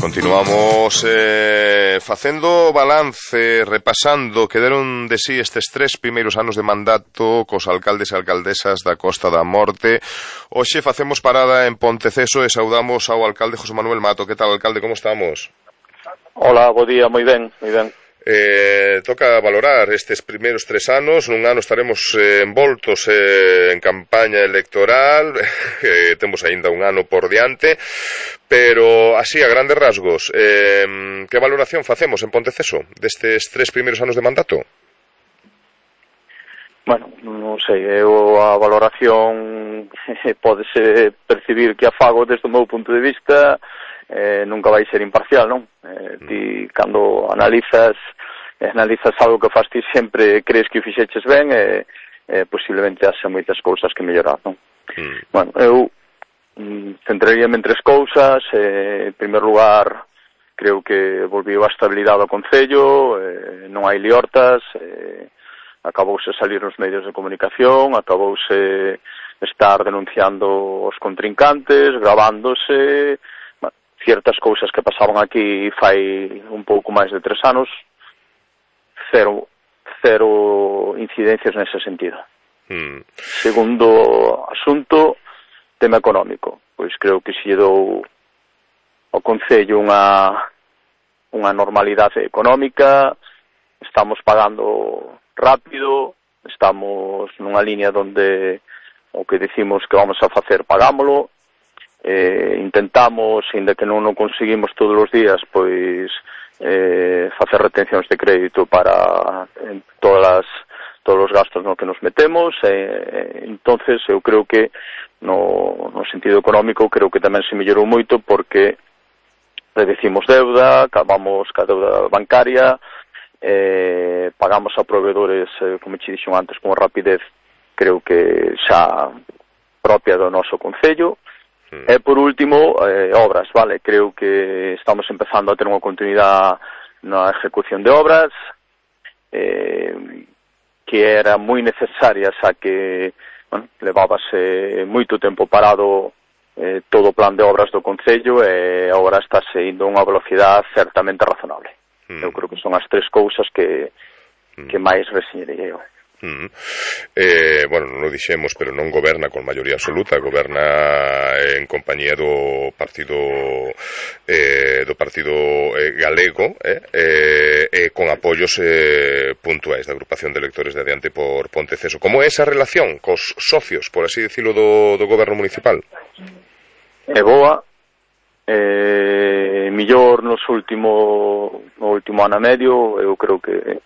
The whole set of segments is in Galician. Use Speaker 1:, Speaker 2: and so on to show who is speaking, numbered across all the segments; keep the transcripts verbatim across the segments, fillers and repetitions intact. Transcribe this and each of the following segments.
Speaker 1: Continuamos eh, facendo balance, repasando que deron de sí estes tres primeiros anos de mandato cos alcaldes e alcaldesas da Costa da Morte. Hoxe facemos parada en Ponteceso e saudamos ao alcalde José Manuel Mato. Que tal, alcalde, como estamos?
Speaker 2: Hola, bo día, moi ben, moi ben.
Speaker 1: Eh, toca valorar estes primeiros tres anos. Nun ano estaremos eh, envoltos eh, en campaña electoral, eh, temos aínda un ano por diante, pero así a grandes rasgos, eh, que valoración facemos en Ponteceso destes tres primeiros anos de mandato?
Speaker 2: Bueno, non sei, eu a valoración pódese percibir que a fago desde o meu punto de vista eh, nunca vai ser imparcial, non? Eh, ti, cando analizas analizas algo que faz ti sempre crees que o fixeches ben e eh, posiblemente haxa moitas cousas que mellorar, non? Mm. Bueno, eu mm, centraríame en tres cousas. Eh, en primer lugar, creo que volviu a estabilidade ao Concello, eh, non hai liortas, eh, acabouse salir nos medios de comunicación, acabouse estar denunciando os contrincantes, gravándose, bueno, ciertas cousas que pasaban aquí fai un pouco máis de tres anos, cero, cero incidencias nese sentido. Mm. Segundo asunto, tema económico. Pois creo que se lle dou ao Concello unha, unha normalidade económica, estamos pagando rápido, estamos nunha línea donde o que decimos que vamos a facer pagámolo, eh, intentamos, ainda que non o conseguimos todos os días, pois eh, facer retencións de crédito para en todas as, todos os gastos no que nos metemos, eh, entonces eu creo que no, no sentido económico creo que tamén se mellorou moito porque redecimos deuda, acabamos ca deuda bancaria, eh, pagamos a proveedores, eh, como che dixo antes, con rapidez, creo que xa propia do noso Concello. Mm. E por último, eh, obras, vale, creo que estamos empezando a ter unha continuidade na ejecución de obras, eh, que era moi necesaria, xa que, bueno, levábase moito tempo parado eh, todo o plan de obras do Concello e agora está indo a unha velocidade certamente razonable. Mm. Eu creo que son as tres cousas que, mm. que máis reseñerei eu.
Speaker 1: Mm. Eh, bueno, non o dixemos, pero non goberna con maioría absoluta, goberna en compañía do partido eh, do partido eh, galego eh, eh, eh, con apoios eh, puntuais da agrupación de electores de Adiante por Ponteceso. Como é esa relación cos socios, por así decirlo, do, do goberno municipal?
Speaker 2: É boa. Eh, millor nos último no último ano e medio, eu creo que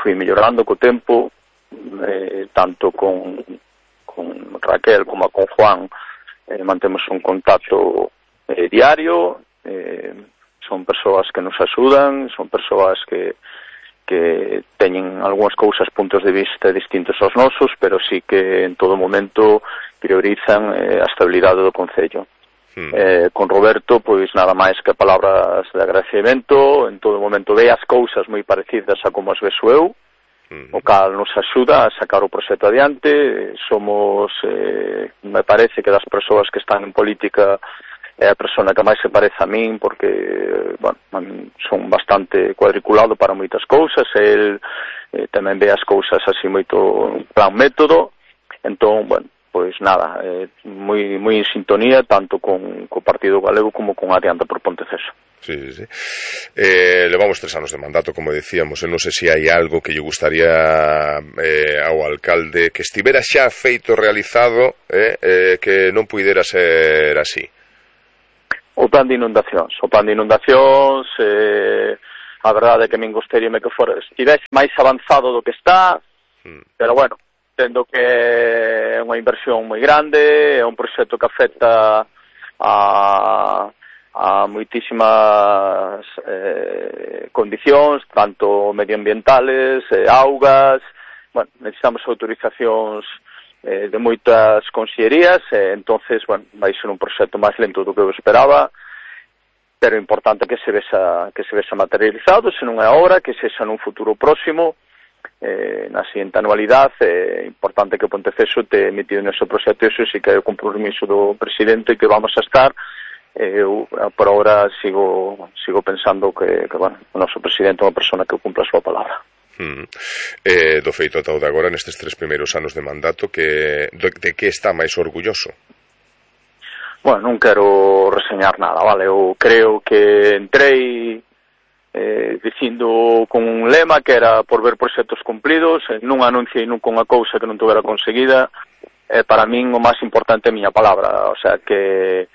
Speaker 2: fui mellorando co tempo, eh, tanto con, con Raquel como con Juan, eh, mantemos un contacto eh, diario, eh, son persoas que nos axudan, son persoas que que teñen algunhas cousas, puntos de vista distintos aos nosos, pero sí que en todo momento priorizan eh, a estabilidade do Concello. Eh, con Roberto, pois nada máis que palabras de agradecemento, en todo momento ve as cousas moi parecidas a como as vexo eu, o cal nos axuda a sacar o proxecto adiante. Somos, eh, me parece que das persoas que están en política é a persona que máis se parece a min, porque, bueno, son bastante cuadriculado para moitas cousas, el eh, tamén ve as cousas así moito plan método, entón, bueno, pois nada, eh, moi moi en sintonía tanto con co Partido Galego como con Adiante por Ponteceso.
Speaker 1: Sí, sí, sí. Eh, levamos tres anos de mandato, como decíamos, e non sei se hai algo que lle gustaría eh, ao alcalde que estivera xa feito, realizado, eh, eh, que non puidera ser así.
Speaker 2: O plan de inundacións, o plan de inundacións, eh, a verdade é que me gustaría que fora, estivese máis avanzado do que está, mm. pero bueno, tendo que é unha inversión moi grande, é un proxecto que afecta a, a moitísimas eh, condicións, tanto medioambientales, eh, augas, bueno, necesitamos autorizacións eh, de moitas consellerías, eh, entonces, bueno, vai ser un proxecto máis lento do que eu esperaba, pero é importante que se vexa, que se vexa materializado, se non é agora, que sexa nun futuro próximo. Eh, na seguinte anualidade é importante que Ponteceso te metido nese proxecto, eso sí que é o compromiso do presidente, que vamos a estar eu por ahora sigo sigo pensando que, que bueno, o noso presidente é unha persona que cumpla a súa palabra.
Speaker 1: Mm. Eh, do feito ata o de agora nestes tres primeiros anos de mandato, que de, de que está máis orgulloso?
Speaker 2: Bueno, non quero reseñar nada, vale? Eu creo que entrei eh, dicindo con un lema que era por ver proxectos cumplidos, eh, non anunciei nunca unha cousa que non tuvera conseguida. Eh, para min o máis importante é a miña palabra, o sea, que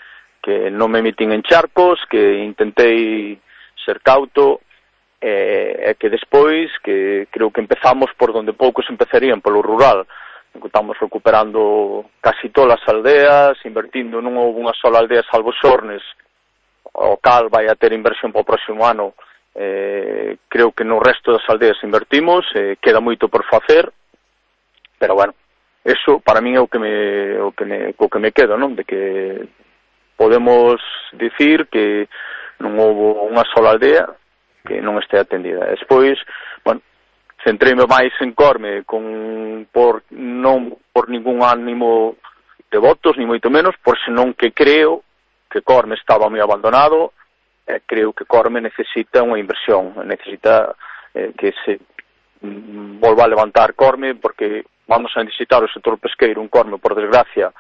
Speaker 2: que non me metín en charcos, que intentei ser cauto, e eh, que despois, que creo que empezamos por donde poucos empezarían, polo rural. Estamos recuperando casi todas as aldeas, invertindo, non houve unha sola aldea salvo Xornes, o cal vai a ter inversión para o próximo ano. Eh, creo que no resto das aldeas invertimos, eh, queda moito por facer, pero bueno, eso para min é o que me, o que me, o que me queda, non? De que podemos dicir que non houve unha sola aldea que non este atendida. Despois, bueno, centreime máis en Corme con, por, non por ningún ánimo de votos, ni moito menos, por senón que creo que Corme estaba moi abandonado, e creo que Corme necesita unha inversión, necesita eh, que se mm, volva a levantar Corme, porque vamos a necesitar o sector pesqueiro, un Corme, por desgracia,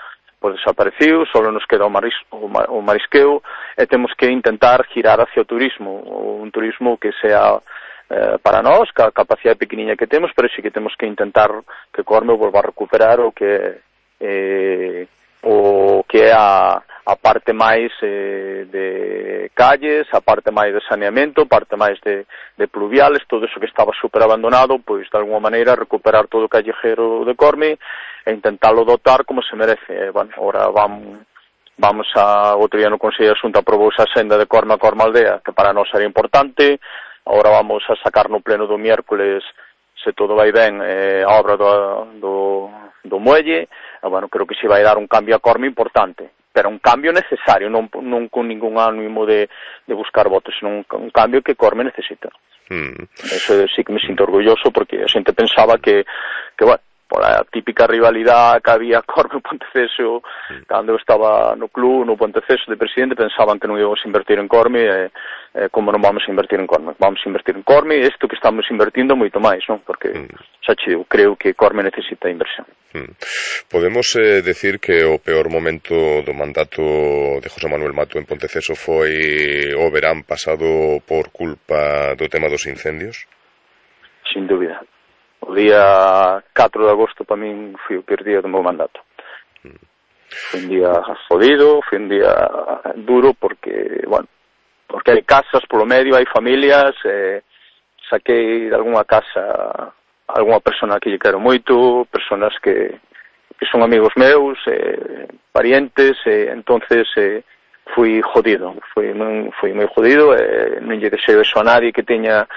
Speaker 2: pues desaparecido, solo nos queda o, maris, o, o marisqueo, e temos que intentar girar hacia o turismo, un turismo que sea eh, para nós, ca capacidade pequeniña que temos, pero sí que temos que intentar que Corme volva a recuperar o que eh, o que é a, a parte máis eh, de calles, a parte máis de saneamento, a parte máis de, de pluviales, todo eso que estaba super abandonado, pois de alguma maneira recuperar todo o callejero de Corme e intentalo dotar como se merece. Eh, bueno, ahora vamos, vamos a, outro día no Consello de Xunta aprobouse a senda de Corme a Corme Aldea, que para nós era importante. Ahora vamos a sacar no pleno do miércoles, se todo vai ben, eh, a obra do, do, do muelle. E, bueno, creo que se vai dar un cambio a Corme importante, pero un cambio necesario, non, non con ningún ánimo de, de buscar votos, sino un, un cambio que Corme necesita. Mm. Eso sí que me sinto orgulloso, porque a xente pensaba que, que bueno, pola típica rivalidade que había Corme e Ponteceso, mm. cando eu estaba no club, no Ponteceso de presidente, pensaban que non íbamos a invertir en Corme, e eh, como non vamos a invertir en Corme? Vamos a invertir en Corme, e isto que estamos invertindo moito máis, non? Porque, mm. xa che digo, creo que Corme necesita inversión.
Speaker 1: Mm. Podemos eh, decir que o peor momento do mandato de José Manuel Mato en Ponteceso foi o verán pasado por culpa do tema dos incendios?
Speaker 2: Sin dúbida. O día catro de agosto para min foi o peor día do meu mandato. Mm. Foi un día jodido, foi un día duro porque, bueno, porque hai casas polo medio, hai familias, eh, saquei de algunha casa algunha persona que lle quero moito, personas que, que son amigos meus, eh, parientes, eh, entonces eh, fui jodido, fui, fui moi jodido, eh, non lle deseo eso a nadie que teña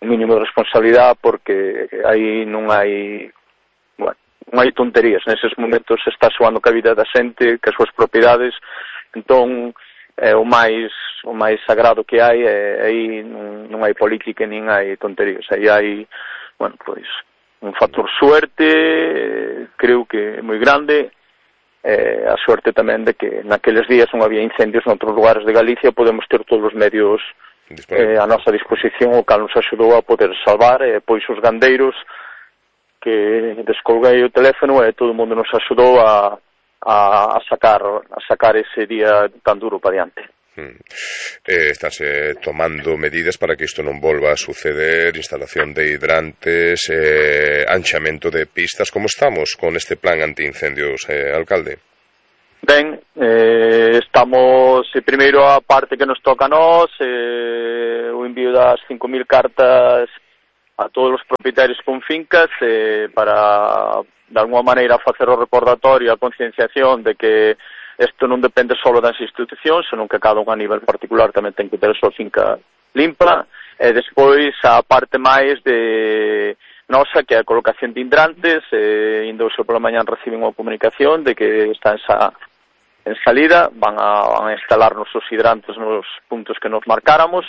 Speaker 2: un mínimo de responsabilidade, porque aí non hai, bueno, non hai tonterías, neses momentos se está xoando ca vida da xente, que as súas propiedades, entón é o máis o máis sagrado que hai, e aí non, non hai política nin hai tonterías, aí hai, bueno, pois un factor suerte, eh, creo que é moi grande, eh, a suerte tamén de que naqueles días non había incendios en outros lugares de Galicia, podemos ter todos os medios eh, a nosa disposición, o cal nos axudou a poder salvar, e eh, pois os gandeiros que descolguei o teléfono e todo o mundo nos axudou a, a, a sacar a sacar ese día tan duro para diante.
Speaker 1: Hmm. Eh, estáse tomando medidas para que isto non volva a suceder, instalación de hidrantes, eh, anchamento de pistas. Como estamos con este plan antiincendios, eh, alcalde?
Speaker 2: Ben, eh, estamos, eh, primeiro a parte que nos toca a nós, eh, o envío das cinco mil cartas a todos os propietarios con fincas, eh, para, de alguma maneira, facer o recordatorio, a concienciación de que isto non depende só das institucións, senón que cada un a nivel particular tamén ten que ter a súa finca limpa, e despois a parte máis de nosa, que é a colocación de hidrantes, eh, indo hoxe pola mañán reciben unha comunicación de que está en, sa, en salida, van a, van a instalar nos os hidrantes nos puntos que nos marcáramos.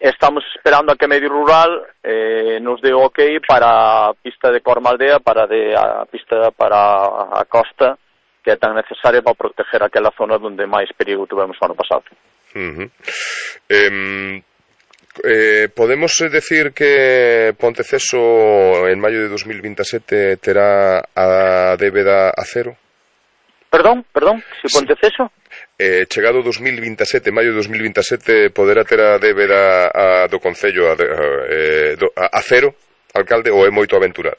Speaker 2: Estamos esperando a que Medio Rural eh, nos dé o ok para a pista de Corme Aldea, para de, a pista para a costa, que é tan necesaria para proteger aquela zona onde máis perigo tivemos o ano pasado.
Speaker 1: Uh-huh. eh, eh, podemos decir que Ponteceso en maio de dos mil veintisiete terá a débeda a cero?
Speaker 2: Perdón, perdón, se Ponteceso?
Speaker 1: Eh, chegado dos mil veintisiete, maio de dos mil veintisiete, poderá ter a débeda a, do Concello a, a, a, a cero, alcalde, ou é moito aventurar?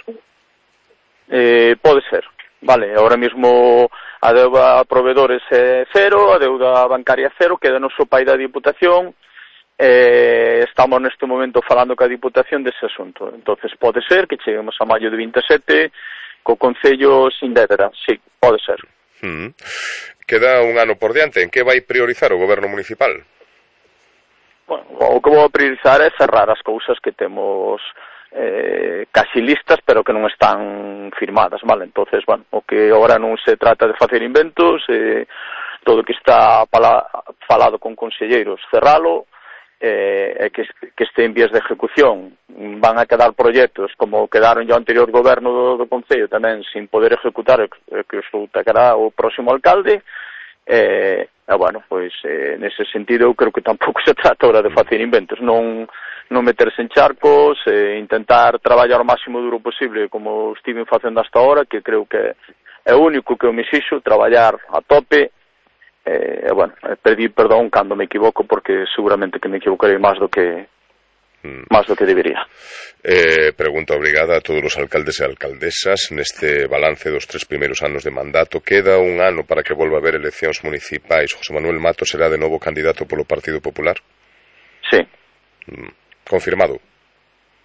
Speaker 2: Eh, pode ser, vale, ahora mesmo a deuda a proveedores é cero, a deuda bancaria é cero, queda no so pai da Diputación, eh, estamos neste momento falando ca Diputación dese asunto, entonces pode ser que cheguemos a maio de veintisiete co Concello sin débeda, sí, pode ser.
Speaker 1: Mm. Queda un ano por diante. En que vai priorizar o goberno municipal?
Speaker 2: Bueno, o que vou priorizar é cerrar as cousas que temos eh, casi listas, pero que non están firmadas, vale? Entonces, bueno, o que agora non se trata de facer inventos, eh, todo o que está pala, falado con conselleiros, cerralo, eh, e que, que este en vías de ejecución. Van a quedar proxectos como quedaron ya o anterior goberno do, do Concello tamén sin poder ejecutar, que os tocará o próximo alcalde, e, eh, bueno, pois eh, nese sentido eu creo que tampouco se trata ahora de facer inventos, non, non meterse en charcos, eh, intentar traballar o máximo duro posible como estiven facendo hasta ahora, que creo que é o único que eu me xixo, traballar a tope. Eh, bueno, pedir perdón cando me equivoco, porque seguramente que me equivocarei máis do que mm. máis do que debería.
Speaker 1: Eh, pregunta obrigada a todos os alcaldes e alcaldesas neste balance dos tres primeiros anos de mandato. Queda un ano para que volva a haber eleccións municipais. José Manuel Mato será de novo candidato polo Partido Popular?
Speaker 2: Sí.
Speaker 1: Mm. Confirmado?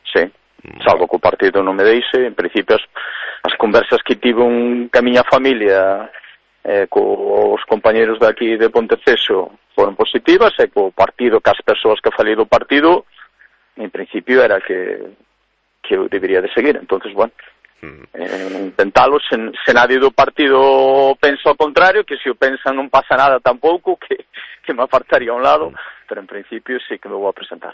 Speaker 2: Sí. Mm. Salvo que o partido non me deixe, en principio as, as conversas que tive un camiña familia eh, cos compañeros de aquí de Ponteceso foron positivas, e co partido, que as persoas que falei do partido, en principio era que que eu debería de seguir. Entonces, bueno, mm. eh, intentalo, se, se nadie do partido pensa o contrario, que se o pensan non pasa nada tampouco, que, que me apartaría a un lado, mm. pero en principio sí que me vou a presentar.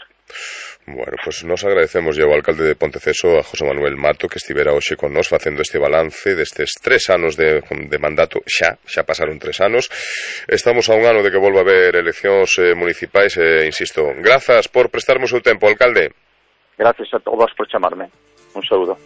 Speaker 1: Bueno, pues nos agradecemos ao alcalde de Ponteceso, a José Manuel Mato, que estivera hoxe con nós facendo este balance destes tres anos de, de mandato. Xa, xa pasaron tres anos. Estamos a un ano de que volva a haber eleccións eh, municipais, e eh, insisto, grazas por prestarme o seu tempo, alcalde.
Speaker 2: Gracias a todos por chamarme. Un saúdo.